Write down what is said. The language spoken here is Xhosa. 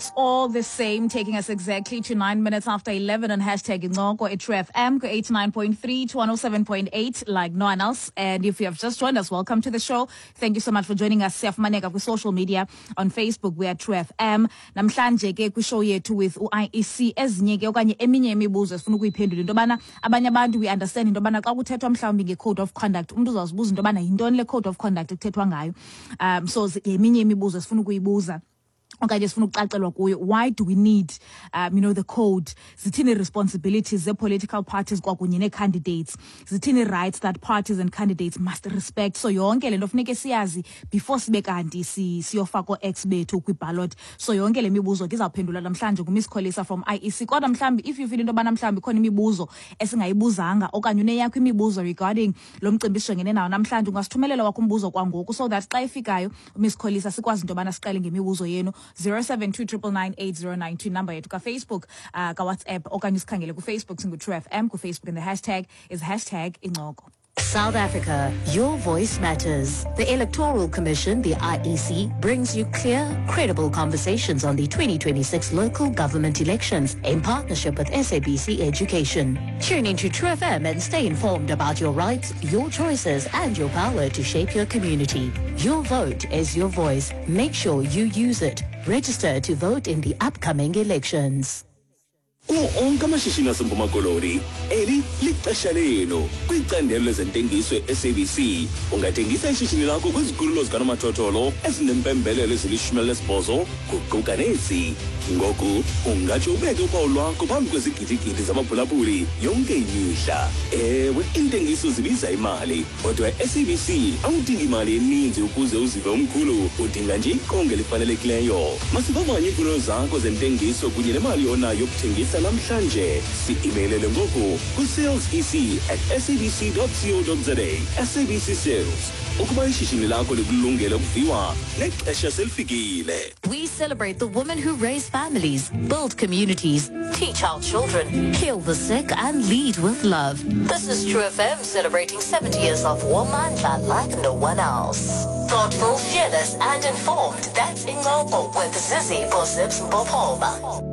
It's all the same, taking us exactly to 9 minutes after 11 on #Incoko at True FM, 89.3 to 107.8, like no one else. And if you have just joined us, welcome to the show. Thank you so much for joining us. Siyafumaneka kwi-social media. On Facebook, we are True FM. Namhlanje ke kwishow yethu with u-IEC, ezinye ke okanye eminye imibuzo esifuna ukuyiphendula, into yobana abanye abantu, we understand into yobana xa kuthethwa mhlawumbi nge-code of conduct, umntu uzawuzibuza into yobana yintoni le code of conduct ekuthethwa ngayo. So yeminye imibuzo esifuna ukuyibuza okanye sifuna ukucacelwa kuyo. Why do we need the code? Zithini responsibilities ze-political parties kwakunye nee-candidates? Zithini rights that parties and candidates must respect? So yonke le nto funeke siyazi before sibe kanti siyofaka oo-X bethu kwi-ballot. So yonke le mibuzo ke izawuphendulwa namhlanje nguMiss Kholisa from IEC. Kodwa mhlawumbi if you feel into yobana mhlawumbi ikhona imibuzo esingayibuzanga okanye uneyakho imibuzo regarding lo mcimbi sijongene nawo namhlanje, ungasithumelela wakho umbuzo kwangoku so that xa ifikayo uMiss Kholisa sikwazi into yobana siqale ngemibuzo yenu. 072 999 8092, number yethu kaFacebook, kaWhatsApp, okanye usikhangele kuFacebook, singu-True FM kuFacebook, and the hashtag is #Incoko. South Africa, your voice matters. The Electoral Commission, the IEC, brings you clear, credible conversations on the 2026 local government elections in partnership with SABC Education. Tune into True FM and stay informed about your rights, your choices, and your power to shape your community. Your vote is your voice. Make sure you use it. Register to vote in the upcoming elections. Kuwo onke amashishini aseMpuma Koloni, eli lixesha lenu kwicandelo lezentengiso e-SABC. Ungathengisa ishishini lakho kwizikhululo zikanomathotholo ezinempembelelo ezili-18, kuquka nezi. Ngoku ungatsho ubeke uphawu lwakho phambi kwezigidigidi zabaphulaphuli yonke imihla. Ewe, iintengiso zibiza imali, kodwa e-SABC awudingi imali eninzi ukuze uzive umkhulu, udinga nje iqonga elifanelekileyo. Masivavanye iimfuno zakho zentengiso kunye nemali onayo yokuthengisa namhlanje. Si-emailele ngoku ku-salesec@sabc co za. SABC Sales, ukuba ishishini lakho likulungele ukuviwa, nexesha selifikile. We celebrate the women who raise families, build communities, teach our children, heal the sick, and lead with love. This is True FM celebrating 70 years of Womandla like no one else. Thoughtful, fearless, and informed. That's Incoko with Zizi Bozips Mbopoma.